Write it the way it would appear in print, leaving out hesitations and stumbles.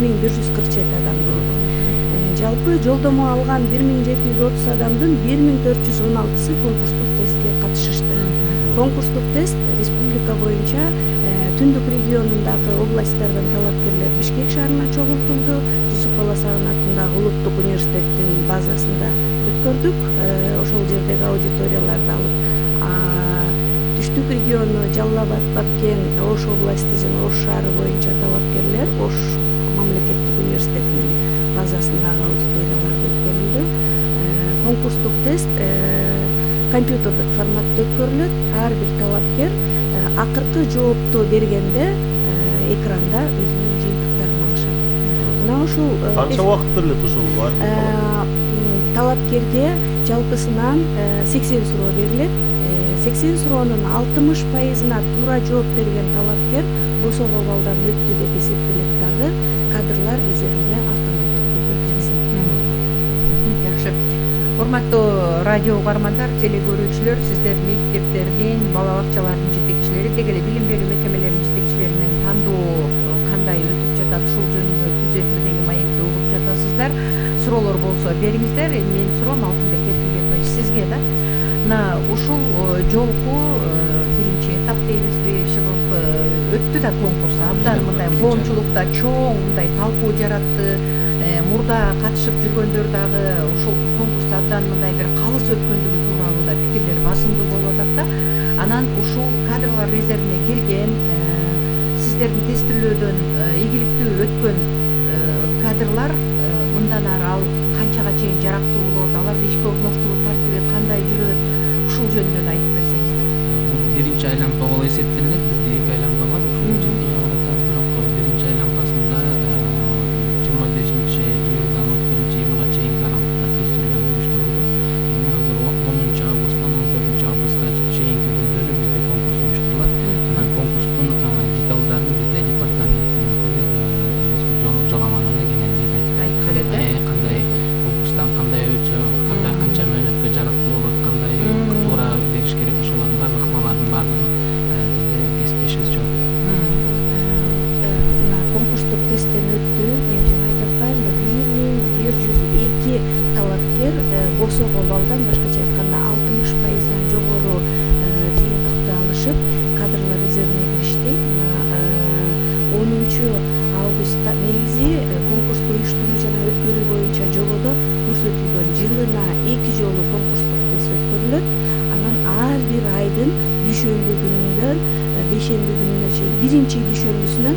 1147 адамдын. Жалпы жолдомо алган 1730 адамдын 1416сы конкурстук тестке катышышты. Конкурстук тест республика боюнча Түндүк регионундагы областтардан талапкерлер Бишкек шаарына чогултулду. Жусуп Баласагын атындагы улуттук университеттин базасында өткөрдүк. Ошол жердеги аудиторияларды алып, Түштүк региону Жалал Абад, Бабкен, Ош областы жана Ош шаары боюнча талапкерлер Ош мамлекеттик университетинин базасындагы аудиторияларда өткөрүлдү. Конкурстук тест компьютердик форматта өткөрүлөт. Ар бир талапкер акыркы жоопту бергенде экранда өзүнүн жыйынтыктарын алышат. Мына ушул канча убакыт берилет ушул бар? Талапкерге жалпысынан 80 суроо берилет. 80 суроонун 60%-на туура жооп берген талапкер босого балдан өттү деп эсептелет дагы кадрлар резервине автоматтык түрдө киргизилет. Жакшы. Урматтуу радио угармандар, теле көрүүчүлөр, сиздер мектептердин, бала бакчалардын жетекчилери, деги эле билим берүү мекемелеринин жетекчилеринен тандоо кандай өтүп жатат, ушул жөнүндө түз эфирдеги маекти угуп жатасыздар. Суроолор болсо бериңиздер. Менин суроом Алтынбек Эркинбекович сизге да. Мына ушул жолку биринчи этап дейбизби, чыгып өттү да конкурс. Абдан мындай коомчулукта чоң мындай талкуу жаратты. Мурда катышып жүргөндөр дагы ушул конкурс абдан мындай бир калыс өткөндүгү тууралуу да пикирлер басымдуу болуп атат да. Анан ушул кадрлар резервине кирген, сиздердин тестилөөдөн ийгиликтүү өткөн кадрлар мындан ары ал канчага чейин жарактуу болот, аларды ишке орноштуруу тартиби кандай жүрөт, ушул жөнүндө да айтып берсеңиздер. Бул биринчи айланма болуп эсептелинет. Бизде 2 айланма бар. Ушул жылкыга карата бирок биринчи айланмасында 25 июлдан 31 июлга чейинки аралыкта тестилөө уюштурулду. Эми азыр 10 августтан 14 августка чейинки күндөрү бизде конкурс уюштурулат. Анан конкурстун деталдарын бизде департаменттин өкүлү Жоламанова кеңирээк айтып берет. Кандай конкурстан кандай өтсө, кандай канча мөөнөткө жарактуу болот, кандай туура бериш керек, ошолордун баардык ыкмалардын баардыгын бизде кесиптешибиз жооп берет. Мына конкурстук тесттен өттү. Мен жана айтып атпаймынбы, 1102 талапкер босого балдан, башкача айтканда 60%дан жогору жыйынтыкты алышып, кадрлар резервине киришти. Мына 10-августта негизи конкурсту уюштуруу жана өткөрүү боюнча жободо көрсөтүлгөн жылына 2 жолу конкурстук тест өткөрүлөт. Анан ар бир айдын дүйшөмбү күнүнөн бейшемби күнүнө чейин, биринчи дүйшөмбүсүнөн